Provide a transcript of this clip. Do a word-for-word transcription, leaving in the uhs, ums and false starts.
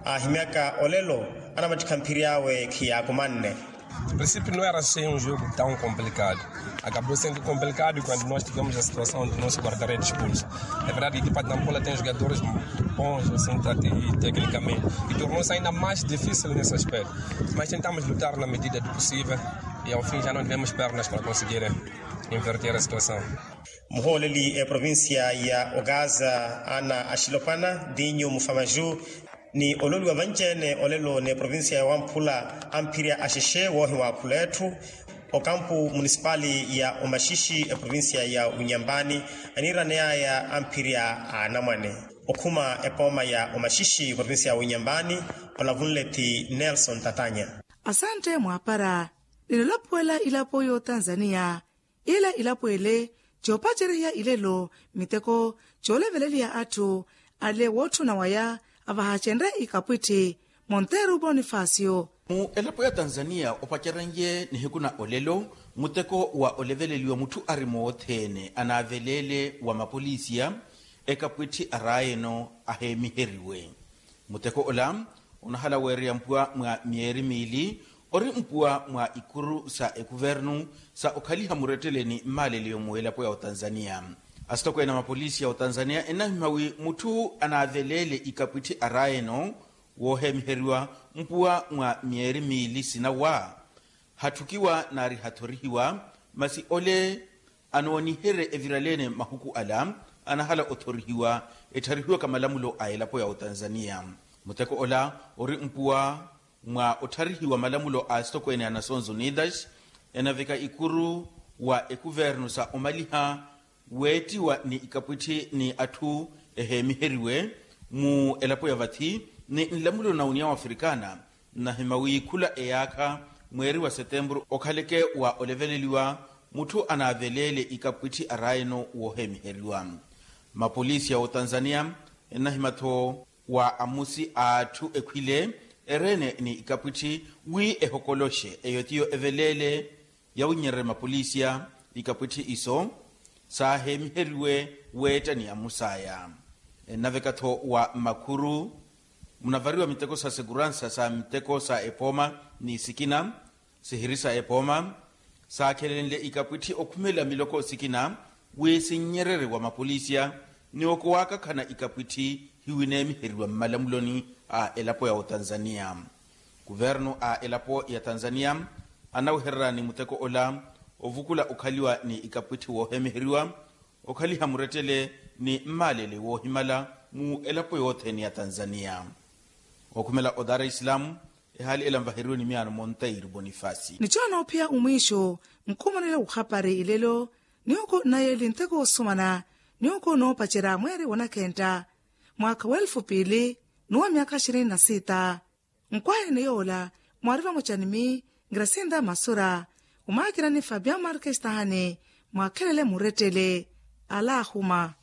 Ahimyaka olelo anamattikha mphiri awe khiyaakumanne. Princípio não era assim um jogo tão complicado. Acabou sendo complicado quando nós tivemos a situação do nosso guarda-redes expulso. É verdade que Patampola tem jogadores bons assim, tecnicamente, e tornou-se ainda mais difícil nesse aspecto. Mas tentamos lutar na medida do possível e ao fim já não tivemos pernas para conseguir inverter a situação. Muhooleli eprovincia ya ogaza ana axilopwana dinyu mufamaju ni ololiwa vanci-ene olelo n'eprovincia ya wamphula amphirya axexe woohiwa akhula etthu okampu munisipali ya omaxixi eprovincia ya unyambani aniiraneyaya amphirya a anamwane okhuma epooma ya omaxixi eprovincia ya unyambani. Olavunle ti nelson tatanya. Asantte mwaapara ninolapuwela ilapo y'otanzaniya. Ila ilapwele coopacerya ilelo miteko cooleveleliya atthu ale wootthuna waya avahacenre ikapwitthi monteru bonifasio. Mu elapo ya tanzaniya opacerenye nihiku na olelo muteko wa oleveleliwa mutthu ari moothene anaaveleele wa mapolisiya ekapwitthi araayeno aheemiheriwe. Muteko ola onahala weereya mpuwa mwa myeeri miili ori mpuwa mwa ikuru sa ekuvernu sa okhaliha murettele ni mmaaleleyo mu elapo ya otanzaniya. Asitokweene a mapolisi ya otanzaniya ennahimmya wi mutthu anaaveleele ikapwitthi araayeno wooheemiheriwa mpuwa mwa myeeri miili sinawa hatthukiwa naari hathorihiwa masi ole anooniherye eviraleene mahuku ala anahala othorihiwa ettharihiwaka malamulo a elapo ya otanzaniya. Muteko ola ori mpuwa mwa ottharihiwa malamulo a asitokweene a nasons unidas enaveka ikuru wa ekuvernu sa omaliha weettiwa ni ikapwitthi ni atthu eheemiheriwe mu elapo ya vathi ni nlamulo na uniyawo afrikana. Nnahima wi khula eyaakha mweeri wa setempuru okhaleke wa oleveleliwa mutthu anaaveleele ikapwitthi araayeno wooheemiheriwa. Mapolisi ya otanzaniya ennahima-tho wa amusi a atthu ekhwile ereene ni ikapwitthi wi ehokoloxe eyo tiyo eveleele yawinyererye mapolisiya ikapwitthi iso saaheemiheriwe weetta ni amusaya. Ennaveka-tho wa makhuru munavariwa miteko sa seguransa sa miteko sa epooma ni sikina sihiri sa epooma saakhelenle ikapwitthi okhumela miloko sikina wi sinnyererye wa mapolisiya ni okowakakhana ikapwitthi hiwineemiheriwa mmalamuloni a elapo ya otanzaniya. Kuvernu a elapo ya tanzaniya anawehererya ni muteko ola ovukula okhaliwa ni ikapwitthi woohemiheriwa okhaliha murettele ni mmaalele woohimala mu elapo yothene ya tanzaniya. Okhumela o dar es salaam ehaali ela nvaheriwe ni miyaano monteiro bonifasi. Ni coona ophiya omwiixo nkhumanela wukhapari ilelo ni oko nayeli nteko osumana ni oko noopacerya mweeri wonakhentta mwaakha wa elfu piili n'uwa myaakha ishirini na sita. Nkwahene yoola mwaari vamoca ni mi ngrasinda masura omaakira ni fabian markestahani mwaakhelele murettele. Ala ahuma.